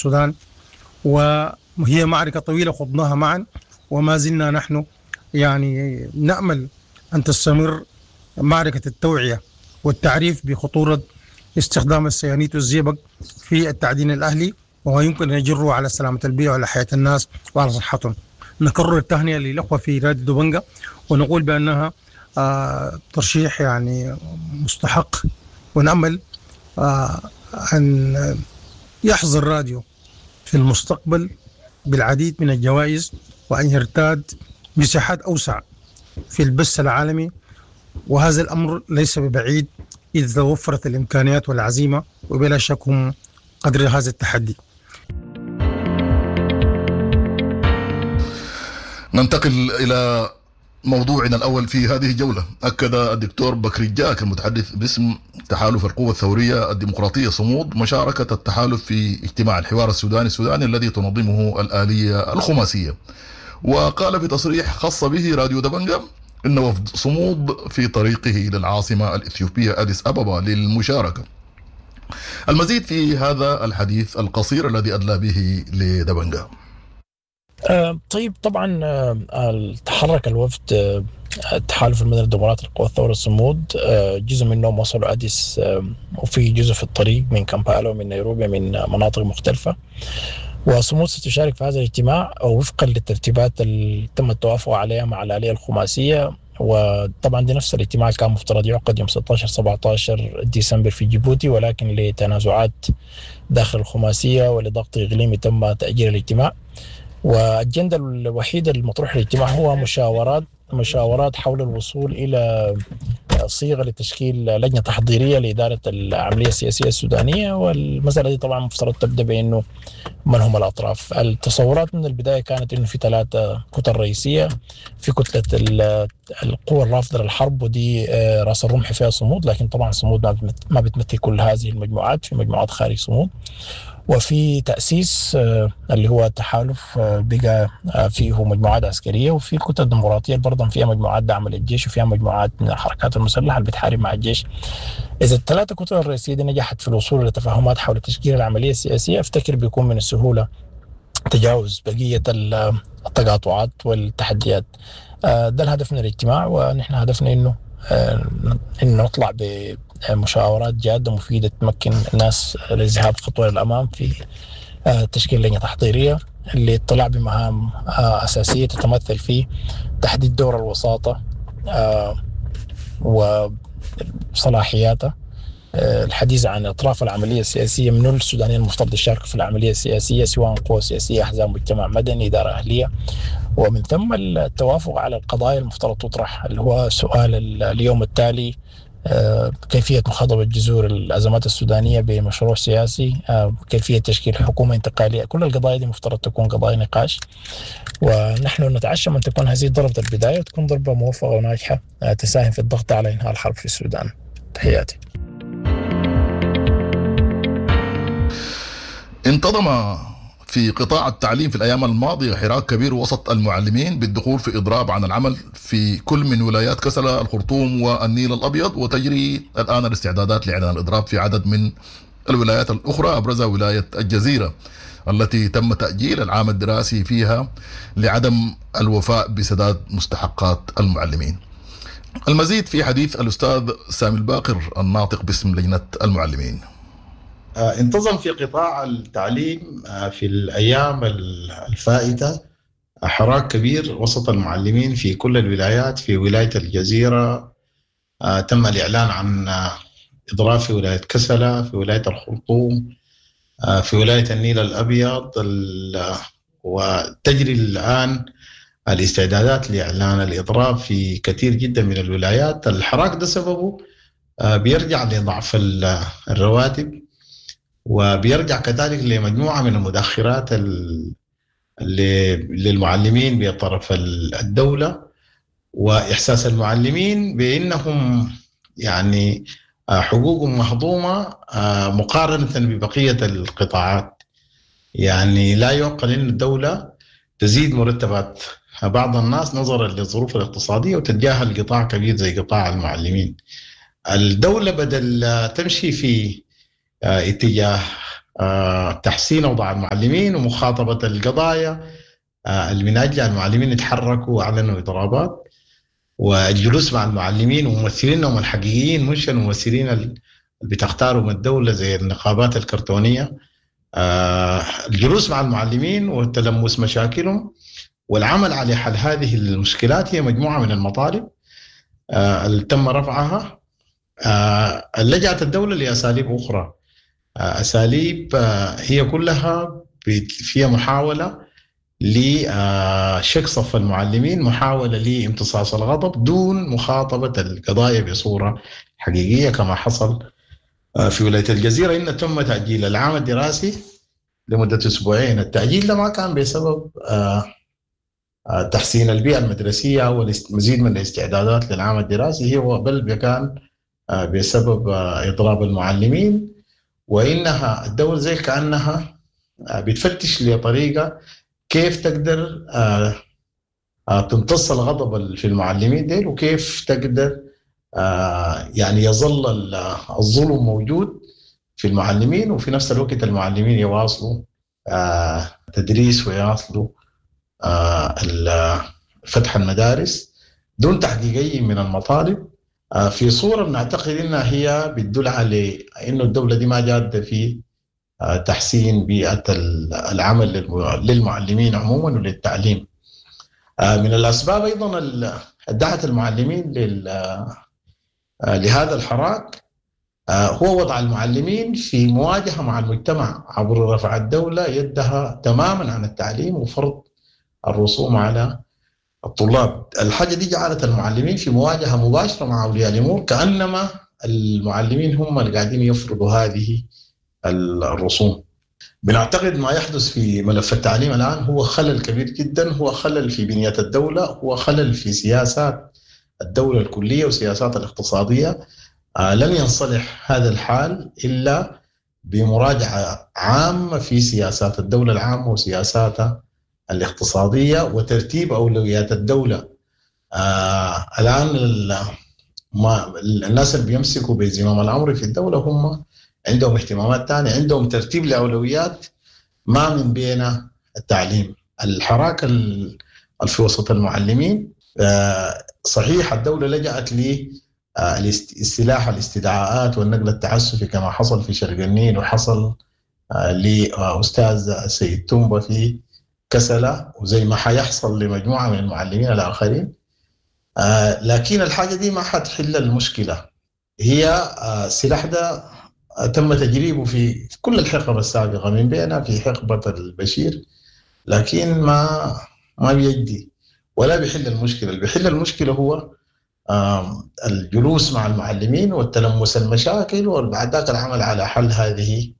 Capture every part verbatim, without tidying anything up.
السودان، وهي معركة طويلة خضناها معا، وما زلنا نحن يعني نأمل أن تستمر معركة التوعية والتعريف بخطورة استخدام السيانيت والزئبق في التعدين الأهلي، وما يمكن أن يجره على سلامة البيئة وعلى حياة الناس وعلى صحتهم. نكرر التهنئة للأخوة في راديو دبنجة ونقول بأنها آه ترشيح يعني مستحق، ونأمل آه أن يحظى الراديو في المستقبل بالعديد من الجوائز وأن يرتاد مساحات أوسع في البث العالمي، وهذا الأمر ليس ببعيد إذا توفرت الإمكانيات والعزيمة، وبلا شك هم قدر هذا التحدي. ننتقل إلى موضوعنا الأول في هذه الجولة. أكد الدكتور بكري جاك المتحدث باسم تحالف القوى الثورية الديمقراطية صمود مشاركة التحالف في اجتماع الحوار السوداني السوداني الذي تنظمه الآلية الخماسية، وقال في تصريح خاص به راديو دبنجة إن وفد صمود في طريقه إلى العاصمة الإثيوبية أديس أبابا للمشاركة. المزيد في هذا الحديث القصير الذي أدلى به لدبنجة. طيب، طبعا تحرك الوفد التحالف المدني الديمقراطي لقوى الثورة الصمود، جزء منهم وصلوا أديس، وفي جزء في الطريق من كامبالا ومن نيروبي من مناطق مختلفة. وصمود ستشارك في هذا الاجتماع وفقا للترتيبات اللي تم التوافق عليها مع الآلية الخماسية. وطبعا دي نفس الاجتماع كان مفترض يعقد يوم ستة عشر سبعة عشر ديسمبر في جيبوتي، ولكن لتنازعات داخل الخماسية ولضغط إقليمي تم تأجيل الاجتماع. والأجندة الوحيدة المطروح للاجتماع هو مشاورات مشاورات حول الوصول إلى صيغة لتشكيل لجنة تحضيرية لإدارة العملية السياسية السودانية. والمسألة دي طبعا مفترض تبدأ بأنه من هم الأطراف. التصورات من البداية كانت أنه في ثلاثة كتل رئيسية، في كتلة القوى الرافضة للحرب ودي رأس الرمح فيها صمود، لكن طبعا صمود ما بتمثل كل هذه المجموعات، في مجموعات خارج صمود. وفي تأسيس اللي هو التحالف بقى فيه مجموعات عسكرية، وفي الكتل الديمقراطية برضه فيها مجموعات دعم للجيش وفيها مجموعات من الحركات المسلحة اللي بتحارب مع الجيش. إذا الثلاثة كتل الرئيسية دي نجحت في الوصول إلى تفاهمات حول تشكيل العملية السياسية، أفتكر بيكون من السهولة تجاوز بقية التقاطعات والتحديات. ده الهدف من الاجتماع، ونحن هدفنا إنه إنه نطلع ب مشاورات جادة مفيدة تمكن الناس للذهاب خطوة للأمام في تشكيل لجنة تحضيرية للاطلاع بمهام أساسية تتمثل في تحديد دور الوساطة وصلاحياتها، الحديث عن أطراف العملية السياسية من السودانيين المفترض يشاركوا في العملية السياسية سواء قوى سياسية، أحزاب، مجتمع مدني، إدارة أهلية، ومن ثم التوافق على القضايا المفترض تطرح اللي هو سؤال اليوم التالي، كيفية مخاطبة جذور الأزمات السودانية بمشروع سياسي، كيفية تشكيل حكومة انتقالية. كل القضايا دي مفترض تكون قضايا نقاش، ونحن نتعشم أن تكون هذه ضربة البداية وتكون ضربة موفقة وناجحة تساهم في الضغط على إنهاء الحرب في السودان. تحياتي. انتظم في قطاع التعليم في الأيام الماضية حراك كبير وسط المعلمين بالدخول في إضراب عن العمل في كل من ولايات كسلا، الخرطوم والنيل الأبيض، وتجري الآن الاستعدادات لإعلان الإضراب في عدد من الولايات الأخرى، أبرزها ولاية الجزيرة التي تم تأجيل العام الدراسي فيها لعدم الوفاء بسداد مستحقات المعلمين. المزيد في حديث الأستاذ سامي الباقر الناطق باسم لجنة المعلمين. انتظم في قطاع التعليم في الأيام الفائتة حراك كبير وسط المعلمين في كل الولايات. في ولاية الجزيرة تم الإعلان عن إضراب في ولاية كسلا، في ولاية الخرطوم، في ولاية النيل الأبيض، وتجري الآن الاستعدادات لإعلان الإضراب في كثير جدا من الولايات. الحراك ده سببه بيرجع لضعف الرواتب، وبيرجع كذلك لمجموعة من المدخرات للمعلمين بطرف الدولة، وإحساس المعلمين بأنهم يعني حقوقهم مهضومة مقارنة ببقية القطاعات. يعني لا يعقل أن الدولة تزيد مرتبات بعض الناس نظرا للظروف الاقتصادية وتتجاهل قطاع كبير زي قطاع المعلمين. الدولة بدل تمشي في اتجاه تحسين أوضاع المعلمين ومخاطبة القضايا اللي من أجل المعلمين يتحركوا وأعلنوا إضرابات، والجلوس مع المعلمين وممثلينهم الحقيقيين، مش الممثلين اللي بتختارهم الدولة زي النقابات الكرتونية. الجلوس مع المعلمين وتلمس مشاكلهم والعمل على حل هذه المشكلات هي مجموعة من المطالب اللي تم رفعها. لجأت الدولة لأساليب أخرى، أساليب هي كلها فيها محاولة لشق صف المعلمين، محاولة لامتصاص الغضب دون مخاطبة القضايا بصورة حقيقية كما حصل في ولاية الجزيرة. إن تم تأجيل العام الدراسي لمدة أسبوعين. التأجيل ده ما كان بسبب تحسين البيئة المدرسية والمزيد من الاستعدادات للعام الدراسي، هو بل كان بسبب إضراب المعلمين، وإنها الدولة زي كأنها بتفتش لطريقة كيف تقدر تمتص الغضب في المعلمين ديل، وكيف تقدر يعني يظل الظلم موجود في المعلمين، وفي نفس الوقت المعلمين يواصلوا تدريس ويواصلوا فتح المدارس دون تحقيق أي من المطالب. في صورة بنعتقد إنها هي بتدل على إنه الدولة دي ما جادة في تحسين بيئة العمل للمعلمين عموما وللتعليم. من الأسباب أيضا دعت المعلمين لهذا الحراك هو وضع المعلمين في مواجهة مع المجتمع عبر رفع الدولة يدها تماما عن التعليم وفرض الرسوم على الطلاب. الحاجة دي جعلت المعلمين في مواجهة مباشرة مع أولياء الأمور، كأنما المعلمين هم اللي قاعدين يفرضوا هذه الرسوم. بنعتقد ما يحدث في ملف التعليم الآن هو خلل كبير جدا، هو خلل في بنية الدولة، هو خلل في سياسات الدولة الكلية وسياسات الاقتصادية. لن ينصلح هذا الحال إلا بمراجعة عامة في سياسات الدولة العامة وسياساتها الاقتصادية وترتيب أولويات الدولة. آه الآن ما الناس اللي بيمسكوا بزمام الأمر في الدولة هم عندهم اهتمامات تانية، عندهم ترتيب لأولويات ما من بين التعليم. الحراك في وسط المعلمين آه صحيح الدولة لجأت للسلاح الاستدعاءات والنقل التعسفي كما حصل في شرق النيل وحصل آه لأستاذ سيد تومبا في كسلة، وزي ما حيحصل لمجموعة من المعلمين الآخرين. آه لكن الحاجة دي ما حتحل المشكلة. هي آه السلاح ده تم تجريبه في كل الحقب السابقة من بينها في حقبة البشير، لكن ما ما بيجدي ولا بيحل المشكلة. اللي بيحل المشكلة هو آه الجلوس مع المعلمين والتلمس المشاكل وبعد ذاك العمل على حل هذه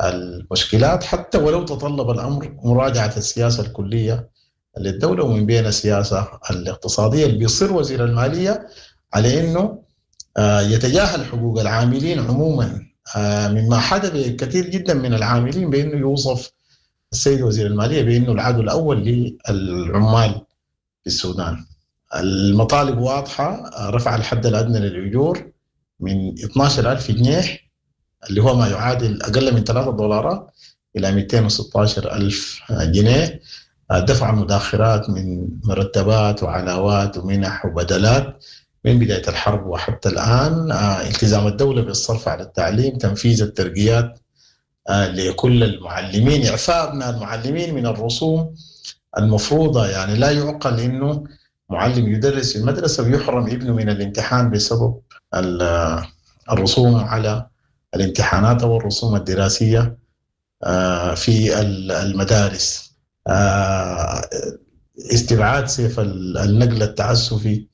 المشكلات، حتى ولو تطلب الأمر مراجعة السياسة الكلية للدولة ومن بين السياسة الاقتصادية اللي بيصر وزير المالية على أنه يتجاهل حقوق العاملين عموما، مما حدث كثير جدا من العاملين بأنه يوصف السيد وزير المالية بأنه العدو الأول للعمال في السودان. المطالب واضحة، رفع الحد الأدنى للأجور من اثني عشر ألف جنيه اللي هو ما يعادل أقل من ثلاثة دولارات إلى مئتين وستة عشر ألف جنيه، دفع مداخرات من مرتبات وعلاوات ومنح وبدلات من بداية الحرب وحتى الآن، التزام الدولة بالصرف على التعليم، تنفيذ الترقيات لكل المعلمين، إعفاء أبناء المعلمين من الرسوم المفروضة. يعني لا يعقل إنه معلم يدرس في المدرسة ويحرم ابنه من الامتحان بسبب الرسوم على الامتحانات أو الرسوم الدراسية في المدارس. استبعاد سيف النقل التعسفي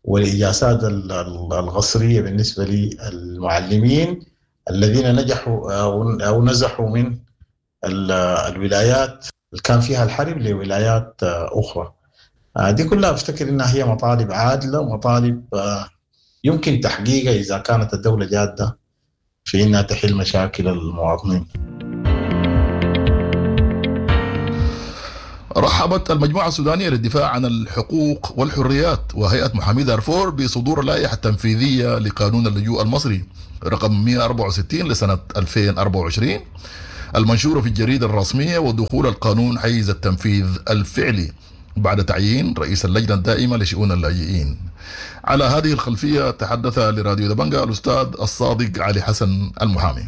والإجازات الغصرية بالنسبة للمعلمين الذين نجحوا أو نزحوا من الولايات اللي كان فيها الحرب لولايات أخرى. دي كلها أفتكر إنها هي مطالب عادلة ومطالب يمكن تحقيقها إذا كانت الدولة جادة في إنها تحل مشاكل المواطنين. رحبت المجموعة السودانية للدفاع عن الحقوق والحريات وهيئة محامي دارفور بصدور اللائحة التنفيذية لقانون اللجوء المصري رقم مئة وأربعة وستين لسنة ألفين وأربعة وعشرين المنشورة في الجريدة الرسمية ودخول القانون حيز التنفيذ الفعلي بعد تعيين رئيس اللجنة الدائمة لشؤون اللاجئين. على هذه الخلفية تحدث لراديو دبنجا الأستاذ الصادق علي حسن المحامي.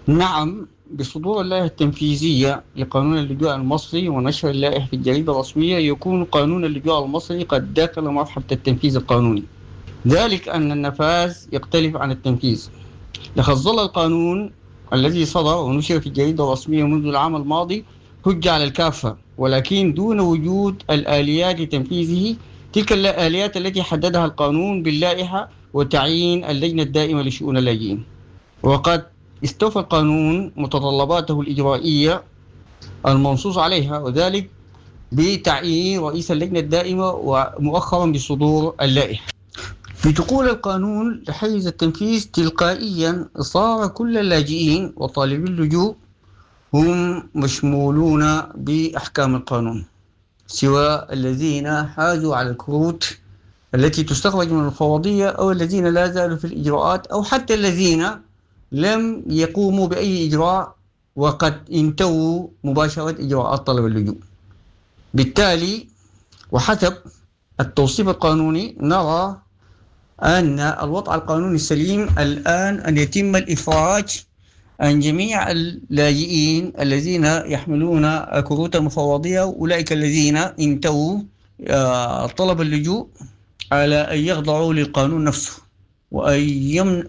نعم، بصدور اللائحة التنفيذية لقانون اللجوء المصري ونشر اللائحة في الجريدة الرسمية يكون قانون اللجوء المصري قد دخل مرحلة التنفيذ القانوني، ذلك أن النفاذ يختلف عن التنفيذ. لقد ظل القانون الذي صدر ونشر في الجريدة الرسمية منذ العام الماضي حجة على الكافة، ولكن دون وجود الآليات لتنفيذه، تلك الآليات التي حددها القانون باللائحة وتعيين اللجنة الدائمة لشؤون اللاجئين. وقد استوفى القانون متطلباته الإجرائية المنصوص عليها، وذلك بتعيين رئيس اللجنة الدائمة ومؤخرا بصدور اللائحة. بدخول القانون لحيز التنفيذ تلقائيا صار كل اللاجئين وطالبي اللجوء هم مشمولون بأحكام القانون، سواء الذين حازوا على الكروت التي تستخرج من المفوضية أو الذين لا زالوا في الإجراءات أو حتى الذين لم يقوموا بأي إجراء وقد انتهوا مباشرة إجراءات طلب اللجوء. بالتالي وحسب التوصيف القانوني نرى أن الوضع القانوني السليم الآن أن يتم الإفراج عن جميع اللاجئين الذين يحملون كروت المفوضية، أولئك الذين انتهوا طلب اللجوء، على أن يخضعوا للقانون نفسه وأن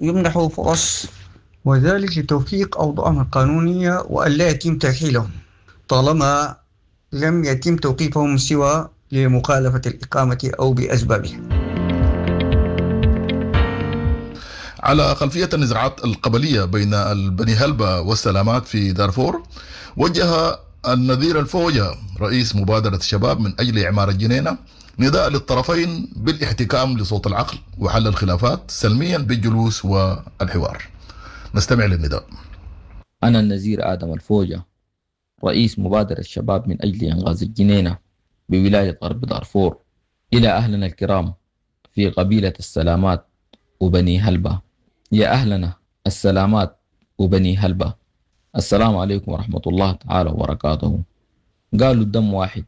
يمنحوا فرص، وذلك لتوفيق أوضاعهم القانونية وأن لا يتم ترحيلهم طالما لم يتم توقيفهم سوى لمخالفة الإقامة أو بأسبابها. على خلفية النزاعات القبلية بين البني هلبة والسلامات في دارفور، وجه النذير الفوجة رئيس مبادرة الشباب من أجل إعمار الجنينة نداء للطرفين بالاحتكام لصوت العقل وحل الخلافات سلميا بالجلوس والحوار. نستمع للنداء. أنا النزير آدم الفوجة، رئيس مبادرة الشباب من أجل إنغاز الجنينة بولاية غرب دارفور، إلى أهلنا الكرام في قبيلة السلامات وبني هلبة. يا أهلنا السلامات وبني هلبة، السلام عليكم ورحمة الله تعالى وبركاته. قالوا الدم واحد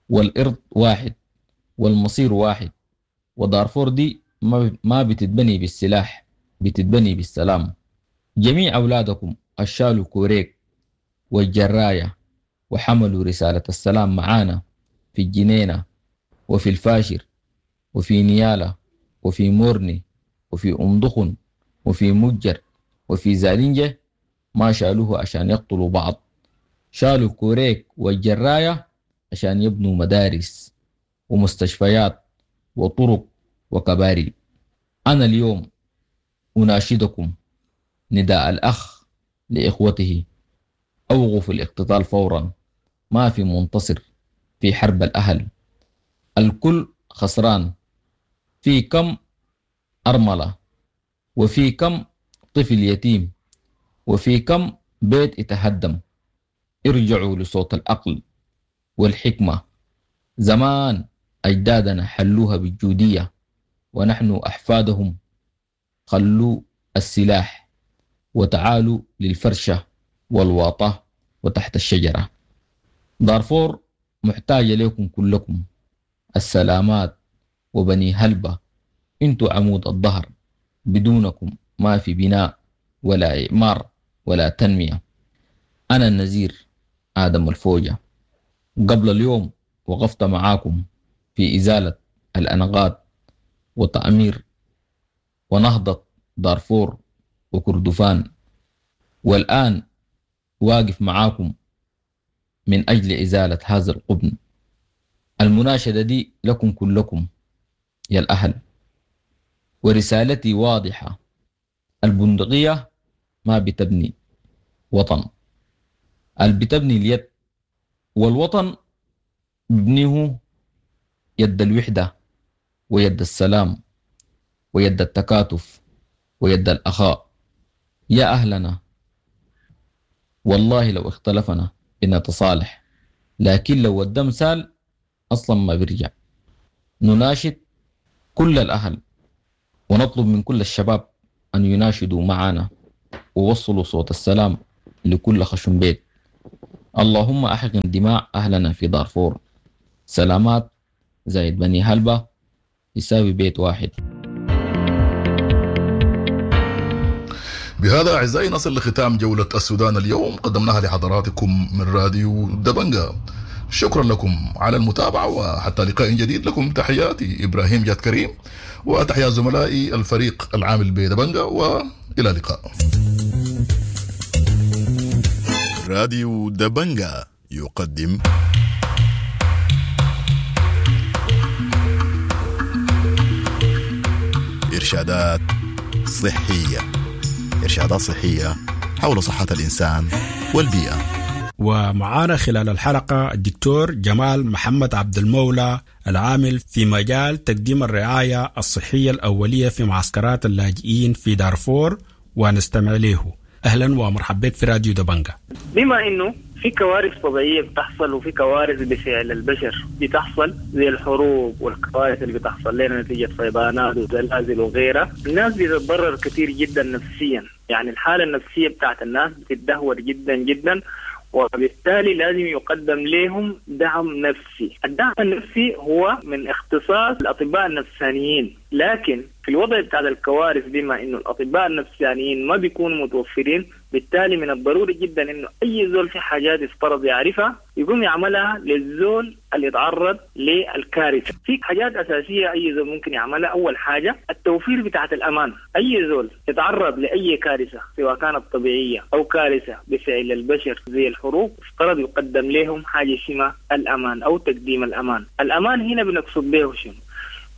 والإرض واحد والمصير واحد، ودارفور دي ما بتتبني بالسلاح، بتتبني بالسلام. جميع أولادكم الشالوا كوريك والجراية وحملوا رسالة السلام معانا في الجنينة وفي الفاشر وفي نيالة وفي مورني وفي أم دخن وفي مجر وفي زالينجة، ما شالوه عشان يقتلوا بعض، شالوا كوريك والجراية عشان يبنوا مدارس ومستشفيات وطرق وكباري. أنا اليوم أناشدكم نداء الأخ لإخوته، أوقفوا الاقتتال فورا، ما في منتصر في حرب الأهل، الكل خسران. في كم أرملة وفي كم طفل يتيم وفي كم بيت اتهدم. ارجعوا لصوت العقل والحكمة. زمان أجدادنا حلوها بالجودية ونحن أحفادهم. خلوا السلاح وتعالوا للفرشة والواطة وتحت الشجرة. دارفور محتاجة لكم كلكم، السلامات وبني هلبة، انتوا عمود الظهر، بدونكم ما في بناء ولا إعمار ولا تنمية. أنا النزير آدم الفوجة، قبل اليوم وقفت معاكم في إزالة الأنقاض وتعمير ونهضة دارفور وكردفان، والآن واقف معاكم من أجل إزالة هذا القبن. المناشدة دي لكم كلكم يا الأهل، ورسالتي واضحة: البندقية ما بتبني وطن، اللي بتبني اليد، والوطن ببنيه يد الوحدة ويد السلام ويد التكاتف ويد الأخاء. يا أهلنا، والله لو اختلفنا بنتصالح، لكن لو الدم سال أصلا ما بيرجع. نناشد كل الأهل ونطلب من كل الشباب أن يناشدوا معنا ووصلوا صوت السلام لكل خشم بيت. اللهم أحقن دماء أهلنا في دارفور. سلامات زايد بني هلبة يساوي بيت واحد. بهذا أعزائي نصل لختام جولة السودان اليوم، قدمناها لحضراتكم من راديو دبنجا. شكرا لكم على المتابعة، وحتى لقاء جديد لكم تحياتي إبراهيم جاد كريم وتحيات زملائي الفريق العامل بدبنجا، وإلى اللقاء. راديو دبنجا يقدم إرشادات صحية، إرشادات صحية حول صحة الإنسان والبيئة. ومعانا خلال الحلقة الدكتور جمال محمد عبد المولى العامل في مجال تقديم الرعاية الصحية الأولية في معسكرات اللاجئين في دارفور، ونستمع له. أهلا ومرحبا بك في راديو دبنجا. بما أنه في كوارث طبيعية بتحصل وفي كوارث بفعل البشر بتحصل زي الحروب والكوارث اللي بتحصل لنا نتيجة فيضانات وزلازل وغيرها، الناس بتتضرر كثير جدا نفسيا، يعني الحالة النفسية بتاعت الناس بتتدهور جدا جدا، وبالتالي لازم يقدم لهم دعم نفسي. الدعم النفسي هو من اختصاص الأطباء النفسانيين، لكن في الوضع بتاع الكوارث بما إنه الأطباء النفسانيين ما بيكونوا متوفرين، بالتالي من الضروري جدا إنه أي زول في حاجات يفترض يعرفها يقوم يعملها للزول اللي يتعرض للكارثة. في حاجات أساسية أي زول ممكن يعملها. أول حاجة التوفير بتاعت الأمان. أي زول يتعرض لأي كارثة سواء كانت طبيعية أو كارثة بفعل البشر زي الحروب، افترض يقدم لهم حاجة اسمها الأمان أو تقديم الأمان. الأمان هنا بنقصد به شنو؟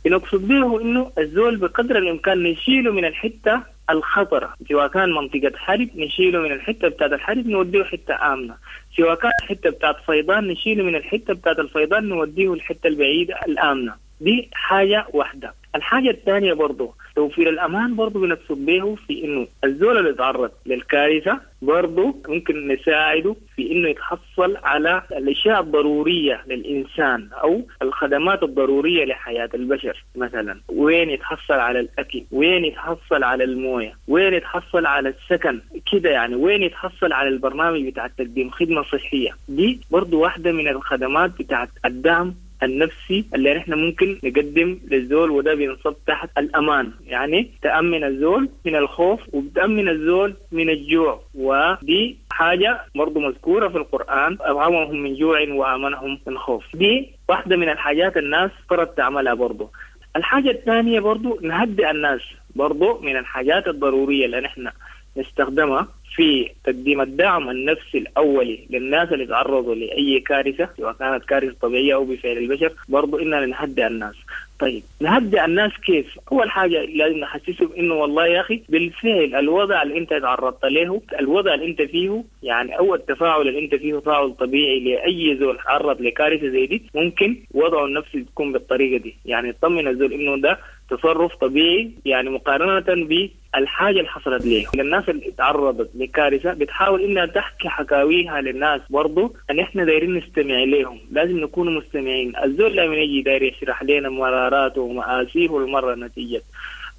بنقصد به إنه الزول بقدر الإمكان نشيله من الحتة الخطرة، سواء كان منطقة حرب نشيله من الحتة بتاعت الحرب نوديه حتة آمنة، سواء كان حتة بتاعت فيضان نشيله من الحتة بتاعت الفيضان نوديه الحتة البعيدة الآمنة. دي حاجة واحدة. الحاجة الثانية برضو توفير الأمان برضو بنقصد به في إنه الزول اللي يتعرض للكارثة برضو ممكن نساعده في إنه يتحصل على الأشياء الضرورية للإنسان أو الخدمات الضرورية لحياة البشر. مثلا وين يتحصل على الأكل، وين يتحصل على الموية، وين يتحصل على السكن كده، يعني وين يتحصل على البرنامج بتاع تقديم خدمة صحية. دي برضو واحدة من الخدمات بتاعت الدعم النفسي اللي نحن ممكن نقدم للزول، وده بينصب تحت الأمان، يعني تأمن الزول من الخوف وبتأمن الزول من الجوع. ودي حاجة برضو مذكورة في القرآن، أطعمهم من جوع وآمنهم من خوف. دي واحدة من الحاجات الناس فرض تعملها برضو. الحاجة الثانية برضو نهدئ الناس، برضو من الحاجات الضرورية اللي نحن نستخدمها في تقديم الدعم النفسي الأولي للناس اللي تعرضوا لأي كارثة سواء كانت كارثة طبيعية أو بفعل البشر، برضو إننا نهدئ الناس. طيب نهدئ الناس كيف؟ أول حاجة لازم نحسسهم إنه والله يا أخي بالفعل الوضع اللي أنت تعرضت له، الوضع اللي أنت فيه، يعني أول تفاعل اللي أنت فيه تفاعل طبيعي لأي زول تعرض لكارثة زي دي، ممكن وضعه النفسي تكون بالطريقة دي، يعني يطمن الزول إنه ده تصرف طبيعي، يعني مقارنة بالحاجة اللي حصلت ليه. للناس اللي تعرضت لكارثة بتحاول إنها تحكي حكاويها للناس، برضو أن إحنا دايرين نستمع لهم، لازم نكون مستمعين. الزول لما يجي داير يشرح لنا مراراته ومآسيه المرة نتيجة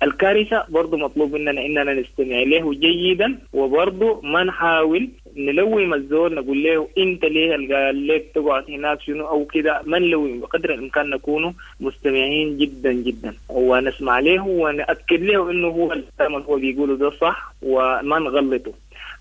الكارثة، برضو مطلوب مننا إننا نستمع له جيدا، وبرضو ما نحاول نلوم الزول نقول له أنت ليه قال لك تقعد هناك شنو أو كده، ما نلوم، بقدر الإمكان نكون مستمعين جدا جدا ونسمع له ونأكد له إنه هو الكلام اللي هو بيقوله ده صح وما نغلطه.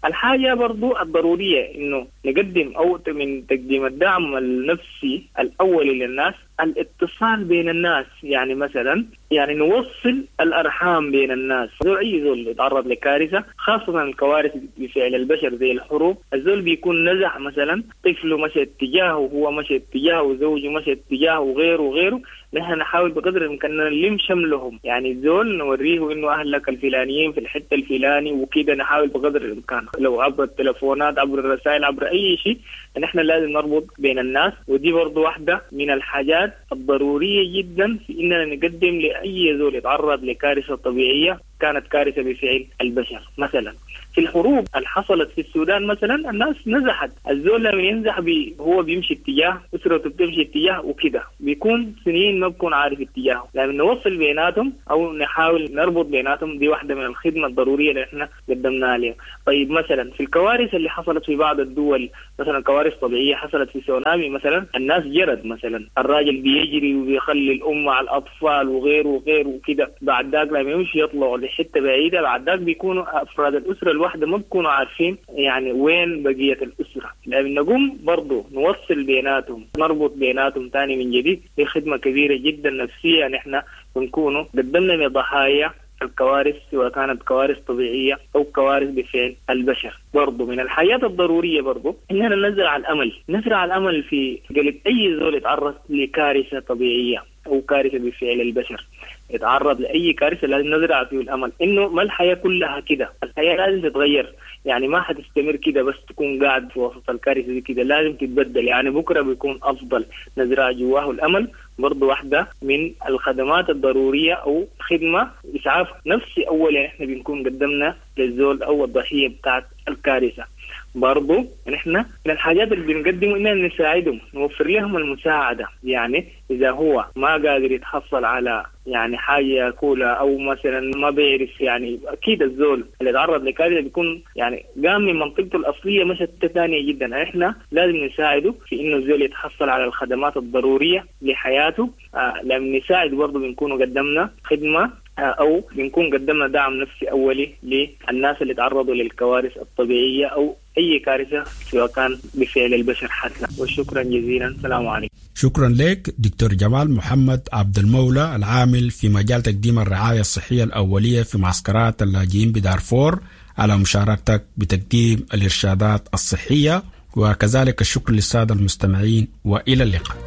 الحاجة برضو الضرورية إنه نقدم أو من تقديم الدعم النفسي الأولي للناس الاتصال بين الناس، يعني مثلا يعني نوصل الأرحام بين الناس. زول أي زول يتعرض لكارثة، خاصة الكوارث بفعل البشر زي الحروب، الزول بيكون نزح مثلا طفله مشى اتجاهه وهو مشى اتجاهه وزوجه مشى اتجاهه وغيره وغيره. نحن نحاول بقدر الإمكان نلم شملهم، يعني الزول نوريه إنه أهلك الفلانيين في الحتة الفلاني وكده، نحاول بقدر الإمكان لو عبر التلفونات عبر الرسائل عبر أي شيء، نحن لازم نربط بين الناس. ودي برضو واحدة من الحاجات الضرورية جدا في إننا نقدم لأي زول يتعرض لكارثة طبيعية كانت كارثة بفعل البشر مثلا. في الحروب اللي حصلت في السودان مثلا الناس نزحت، الزول لما ينزح بي هو بيمشي اتجاه، اسرته بتمشي اتجاه وكده، بيكون سنين ما بيكون عارف اتجاهه. لما نوصل بيناتهم او نحاول نربط بيناتهم، دي واحدة من الخدمة الضرورية اللي احنا قدمناها لهم. طيب مثلا في الكوارث اللي حصلت في بعض الدول، مثلا كوارث طبيعية حصلت في سونامي مثلا، الناس جرت مثلا، الراجل بيجري وبيخلي الام مع الاطفال وغيره وغيره وكده، بعد ذاك لما يمشي يطلعوا لحته بعيدة، بعد ذاك بيكونوا افراد الاسرة الواحدة ما بيكونوا عارفين يعني وين بقية الاسرة. لما نقوم برضه نوصل بيناتهم، نربط بيناتهم ثاني من جديد، دي خدمة كبيرة جدا نفسية نحن بنكونوا قدمنا لضحايا الكوارث، سواء كانت كوارث طبيعية أو كوارث بفعل البشر. برضو من الحياة الضرورية برضو إننا نزرع الأمل، نزرع الأمل في قلب أي زول يتعرض لكارثة طبيعية أو كارثة بفعل البشر، يتعرض لأي كارثة لازم نزرع فيه الأمل إنه ما الحياة كلها كده، الحياة لازم تتغير، يعني ما حتستمر كده بس تكون قاعد في وسط الكارثة دي كده، لازم تتبدل، يعني بكرة بيكون أفضل. نزرع جواه الأمل برضو واحدة من الخدمات الضرورية أو خدمة إسعاف نفسي أولا إحنا بنكون قدمنا للزول أو الضحية بتاعت الكارثة. برضو نحن من الحاجات اللي بنقدمه إننا نساعدهم، نوفر لهم المساعدة، يعني إذا هو ما قادر يتحصل على يعني حاجة ياكلها أو مثلا ما بيعرف، يعني أكيد الزول اللي تعرض لكارثة بيكون يعني قام من منطقته الأصلية مشت ثانية جدا، إحنا لازم نساعده في إنه الزول يتحصل على الخدمات الضرورية لحياته. آه لما نساعد برضو بنكون قدمنا خدمة أو بنكون قدمنا دعم نفسي أولي للناس اللي تعرضوا للكوارث الطبيعية أو أي كارثة سواء كان بفعل البشر حتى. وشكرا جزيلا، السلام عليكم. شكرا لك دكتور جمال محمد عبد المولى العامل في مجال تقديم الرعاية الصحية الأولية في معسكرات اللاجئين بدارفور على مشاركتك بتقديم الإرشادات الصحية، وكذلك الشكر للسادة المستمعين، وإلى اللقاء.